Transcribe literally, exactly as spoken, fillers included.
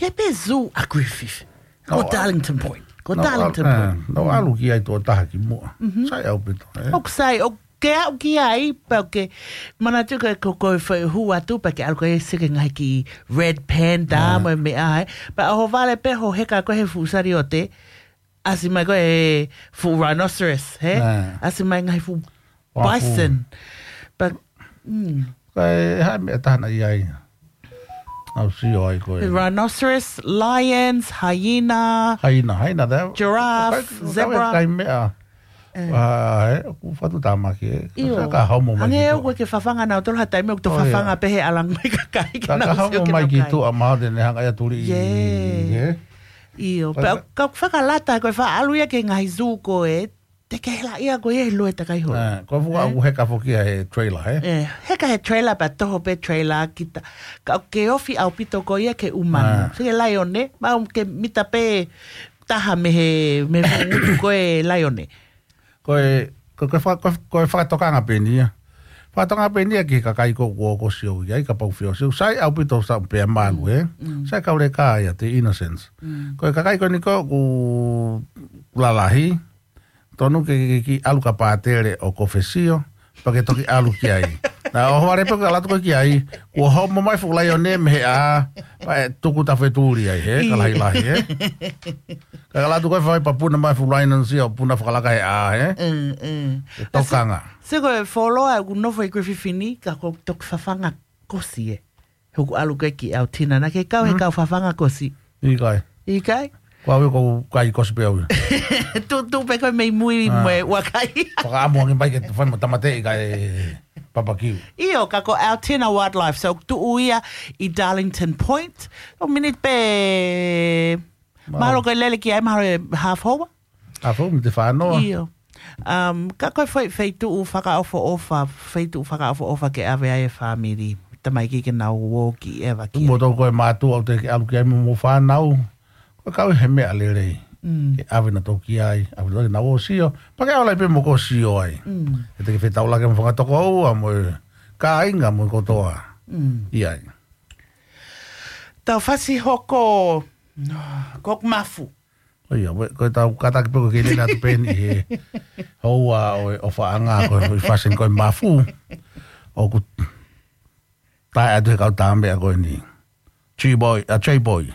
Ke pē zoo ʻa Griffith. Ko Nau ʻalu, Darlington Point. Ko nau ʻalu, Darlington Point. ʻE, nau ʻalu ki ai tuʻo taha ki muʻa. Sai ʻaupito, ē? ʻOku sai, ʻoku ke aʻu ki ai, pea ʻoku ke manatu ko e, ko, ko e fai hū atu, pea ke ʻalu ko e sio ki he ngaahi kiʻi red panda, mo e meʻa, ē. Pea ʻohovale pē hoʻo heka ko ē he fuʻu saliote, ʻasi mai ko e fuʻu rhinoceros, hē? ʻAsi mai ngaahi fuʻu bison. Pea, mm. Ko e hā e meʻa taha naʻe ʻi ai. ʻAu sio ai ko e. Rhinoceros, lions, hyena. Hyena, hyena, tā. Giraffe, zebra. Kai meʻa. ʻE. ʻOku fatu tāmaki, ē. ʻIo. Sa ka homo mai. Hangē ʻoku ke fafanga nautolu ha taimi ʻoku to fafanga pē he ʻalu ange mai kakai. Ka homo mai ki tuʻa mahalo te ne hanga ia tuli. ʻIo. Pea ka fakalata ko e faʻa ʻalu ia ki he ngaahi zoo ko ē, te ke hela ia ko ia he loe takai holo. Ko e fuʻu ʻalu heka foki ia he trailer, hē? ʻE, heka he trailer pea toho pē trailer kita. Ka ke ofi ʻaupito ko ia ke umanu. Sike laione, mau ke mita pē taha mei he, mei he fuʻu ngutu ko e laione. Ko e, ko, ko e fa-, ko e, ko e fakatokanga pē eni ia. Fakatokanga pē eni ia ki he kakai ko ē ʻoku sio ki ai, kapau ʻoku sio. Sai ʻaupito sa pea malu, ē? Sai kauleka ia, the innocence. Ko e kakai ko eni ko ē ʻoku lalahi, tonu ke, ke, ke ʻalu ka pātele ʻo kofesio, pea ke toki ʻalu ki ai. Naʻe ʻohovale pē ka ʻalu atu ko ē ki ai, kuo homo mai fuʻu laione mei he ʻā, pea ʻe tuku tafetuli ai, hē? Ka lahilahi, hē? Ka ʻalu atu ko ē fai pea puna mai fuʻu laione ʻo puna fakalaka he ʻā, hē? Tokanga. Sike ko e fuoloa ʻoku nofo ʻi Griffith ni, ka ko e toki fafanga kosi, ē. Hoku ʻalu ko ē ki ʻAotina, naʻa ke kau he kau fafanga kosi. ʻIkai. ʻIkai? Ko au ia ʻoku ou kai kosi pē au ia. Tu, tu pē ko e mei mui mo e ʻuakai. Fakaʻamu ange mai ke fai mo tāmateʻi kae papakiu. ʻIo, ka ko ʻAotina Wildlife, so tuʻu ia ʻi Darlington Point. ʻO miniti pē, mahalo ko e lele ki ai, mahalo e half hour. Half hour, miniti fā noa. ʻIo. Um, ka ko e fai, feituʻu fakaʻofoʻofa, feituʻu fakaʻofoʻofa ke ʻave ai e fāmili. Tamaiki ke nau ō ki ʻeva ki ai. Mo tau ko e mātuʻa ʻoku te ke ʻalu ki ai mo, mo fānau. Ko e kau he meʻa lelei. Ke ʻave nautolu ki ai, ʻave nautolu ke nau ō ʻo sio. Pea ke ʻalu ai pē mo ko sio ai. ʻE te ke fetaulaki mo fanga tokoua, mo e kāinga, mo kotoa. ʻI ai. Tau fasi hoko, ko ʻeku mafu. ʻIo, ko e tau kātaki pē ko e ke lele atu pē eni he houa ʻo e ʻofaʻanga ko e fashion ko e mafu. ʻOku tae atu he kau tāmeʻa ko eni. G-Boy, a J-Boy.